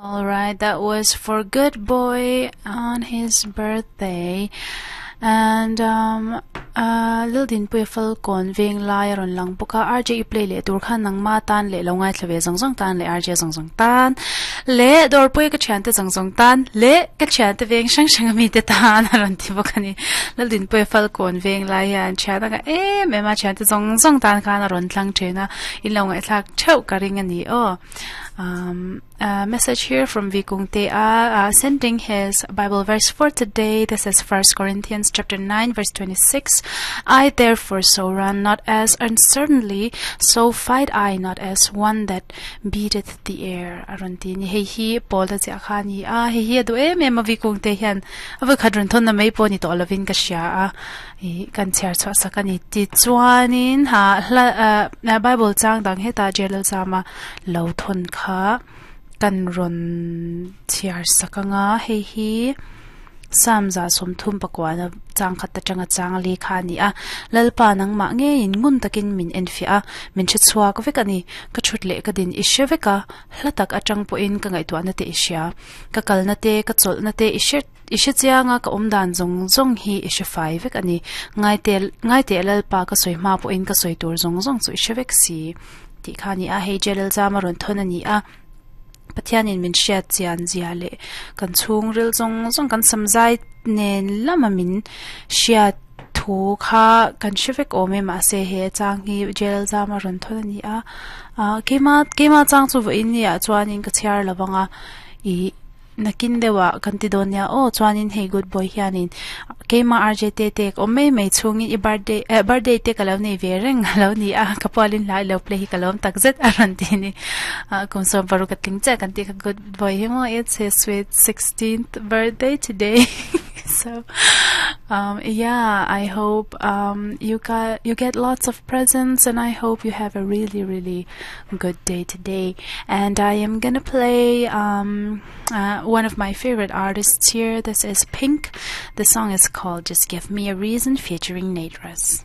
All right, that was for Good Boy on his birthday. And um uh Lildinpuia Falkawn veng lai a rawn lang bawk a, RJ i play leh tur khan nangma tan leh lo ngaithla ve zawng zawng tan leh RJ zawng zawng tan leh Dawrpuia ka thiante zawng zawng tan leh ka thiante veng hrang hrang ami te tan a rawn ti bawk a ni. Lildinpuia Falkawn veng lai hian thian a ngah em em a, thiante zawng zawng tan khan a rawn tlang thin a, in lo ngaihthlak theuh ka ring a ni aw. Um A message here from Vikungte uh, sending his Bible verse for today. This is First Corinthians chapter 9 verse 26. I therefore so run not as uncertainly, so fight I not as one that beateth the air. Aron ti ni hei hi Paul a ziah kha ni a hei hi a duh em em a Vikungte hian a voi khat run thon na mai pawh ni tawh lovin ka hria a i kan chhiar chhuah sak a ni ti chuanin ha hla ah Bible chang dang hetah Jalal Zama lo thawn kha kan rawn chhiar sak anga hei hi Psalm za sawmthum pakuana chang khat atanga chang li kha a ni a Lalpa nangmah ngeiin ngun takin min enfiah a min hre chhuak vek a ni ka thut leh ka din i hre vek a hla tak atang pawhin ka ngaihtuahna te i hria ka kalna te ka chawlhna te i hre i hre chiang a ka awm dan zawng zawng hi i hre fai vek a ni ngaite ngaiteh Lalpa ka sawi hma pawhin ka sawi tur zawng zawng chu i hre vek si. Tih kha a ni a, hei Jalal Zama rawn thawn a ni a, Pathianin min hriat chian zia leh kan chhungril zawng zawng kan sam zai nen lama min hriat thu kha kan hre vek awm e mahse he chang hi Jalal Zama rawn thawn a ni a, ah keima keima chang chu vawiin ni ah chuanin ka chhiar lo vang a ih Nakin deuhah kan ti dawn nia aw chuanin hei good boy hianin keimah RJ te te ka awm mai mai chhungin i birthday eh birthday te ka lo nei ve reng a lo ni a ka pualin hla i lo play hi ka lawm tak zet a rawn ti a ni ah kum sawm paruk a tling chiah kan tih kha good boy hi maw it's his sweet sixteenth birthday today so um yeah I hope um you got you get lots of presents and I hope you have a really really good day today and I am gonna play um uh, one of my favorite artists here this is Pink the song is called Just Give Me a Reason featuring Nate Russ.